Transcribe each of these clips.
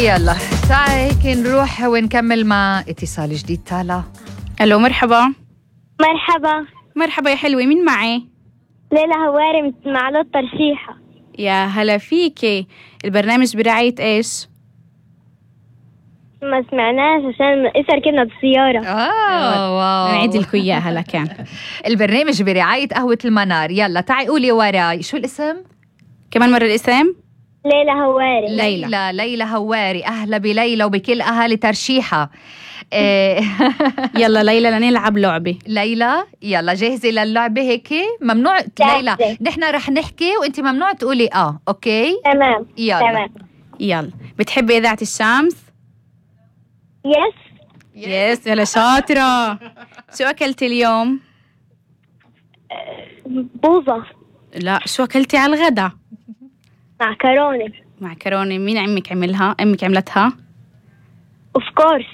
يلا تعالي هيك نروح ونكمل مع اتصال جديد. تالا الو، مرحبا. مرحبا. مرحبا يا حلوة، مين معي؟ ليلى هواري من معلوط ترشيحة. يا هلا فيكي. البرنامج برعاية ايش؟ ما سمعناش عشان إسا ركبنا بالسيارة. واو نعيد لكم اياها لكان. البرنامج برعاية قهوة المنار. يلا تعي قولي وراي شو الاسم؟ كمان مرة الاسم؟ ليلى هواري. ليلى هواري. أهلا بليلى وبكل أهالي ترشيحة. يلا ليلى لنلعب لعبة. ليلى يلا جاهزة للعبة هيك؟ ممنوع ليلى نحن رح نحكي وانت ممنوع تقولي اوكي؟ تمام. يلا تمام. يلا، بتحبي إذاعة الشمس؟ يس. يلا شاطرة. شو أكلتي اليوم؟ بوظة. لا، شو أكلتي على الغدا؟ معكرونة. مين عمك عملها؟ أمك عملتها؟ اوف كورس.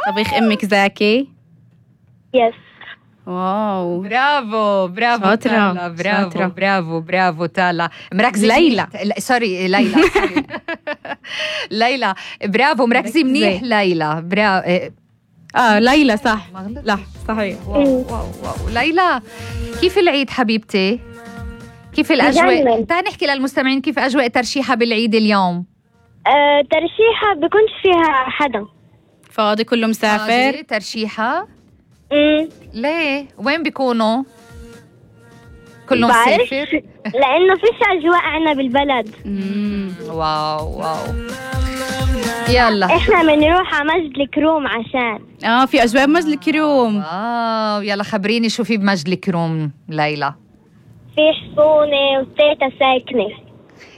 طبيخ أمك زاكي؟ يس. واو، برافو شاطرة. تالا. برافو تالا. مركزة ليلى. سوري ليلى. ليلى برافو، مركزة منيح ليلى. برافو. ليلى صح. لا صحيح. واو. ليلى كيف العيد حبيبتي؟ كيف الأجواء؟ تعال نحكي للمستمعين كيف أجواء ترشيحة بالعيد اليوم. ترشيحة بكونش فيها حدا فاضي، كله مسافر. ترشيحة ليه؟ وين بيكونوا؟ كله مسافر؟ لأنه فيش أجواء عنا بالبلد. واو. يلا إحنا بنروح على مجد الكروم عشان في أجواء مجد الكروم. واو. يلا خبريني شو في بمجد الكروم ليلى. في حصونة وتيتا ساكنة.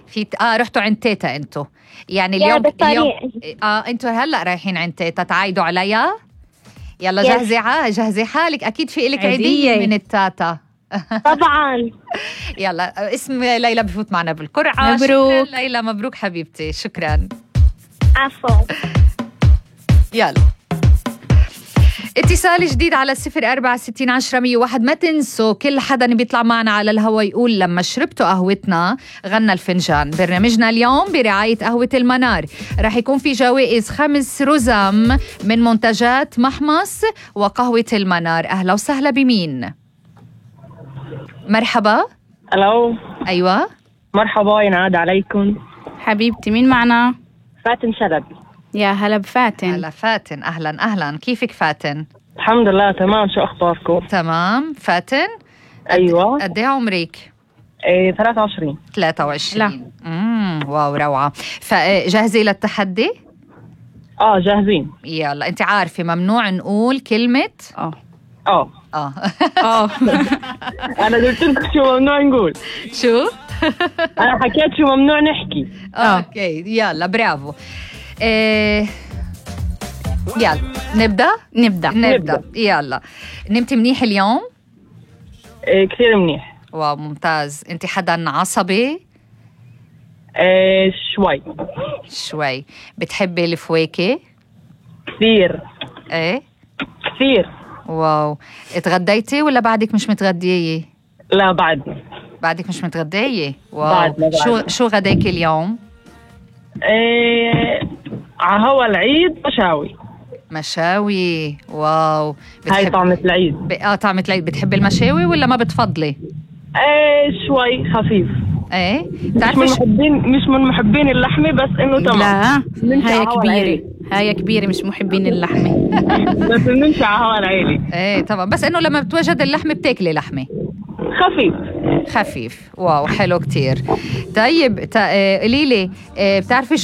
في رحتوا عند تيتا انتو؟ يعني اليوم انتو هلا رايحين عند تيتا تعايدوا عليها؟ يلا جهزي حالك، اكيد في لك عيدية من التاتا. طبعا. يلا اسم ليلى بفوت معنا بالقرعة. مبروك شكرا ليلى، مبروك حبيبتي. شكرا. عفوا. يلا اتصال جديد على 04601001. ما تنسوا كل حدا بيطلع معنا على الهوا يقول لما شربتوا قهوتنا غنى الفنجان. برنامجنا اليوم برعاية قهوة المنار. رح يكون في جوائز 5 رزم من منتجات محمص وقهوة المنار. أهلا وسهلا بمين؟ مرحبا. الو. أيوة مرحبا، ينعاد عليكم. حبيبتي، مين معنا؟ فاتن شلبي. يا هلا بفاتن. هلا فاتن. أهلا. كيفك فاتن؟ الحمد لله تمام. شو أخباركم؟ تمام. فاتن أيوة. قد ايه عمرك؟ 23. 23. واو روعة. فجاهزة للتحدي؟ جاهزين. يلا انت عارفة ممنوع نقول كلمة أنا قلت لكم شو ممنوع نقول. شو؟ أنا حكيت شو ممنوع نحكي. اوكي يلا برافو. يلا نبدأ. يلا نمتي منيح اليوم؟ كثير منيح. واو ممتاز. انت حدا عصبي؟ شوي. بتحبي الفواكه؟ كثير. ايه كثير. واو. اتغديتي ولا بعدك مش متغدية؟ لا بعدك مش متغدية. واو. بعد. شو غداكي اليوم؟ على هوا العيد مشاوي. واو. هاي طعمة العيد. طعمة العيد. بتحبي المشاوي ولا ما بتفضلي؟ شوي خفيف. ايه مش من محبين اللحمة، بس انه تمام. لا هاي كبيرة مش محبين اللحمة. بس بنمشي على هوا العيلي. ايه طبعا، بس انه لما بتوجد اللحمة بتاكلي لحمة خفيف. واو حلو كتير. طيب قوليلي، بتعرفي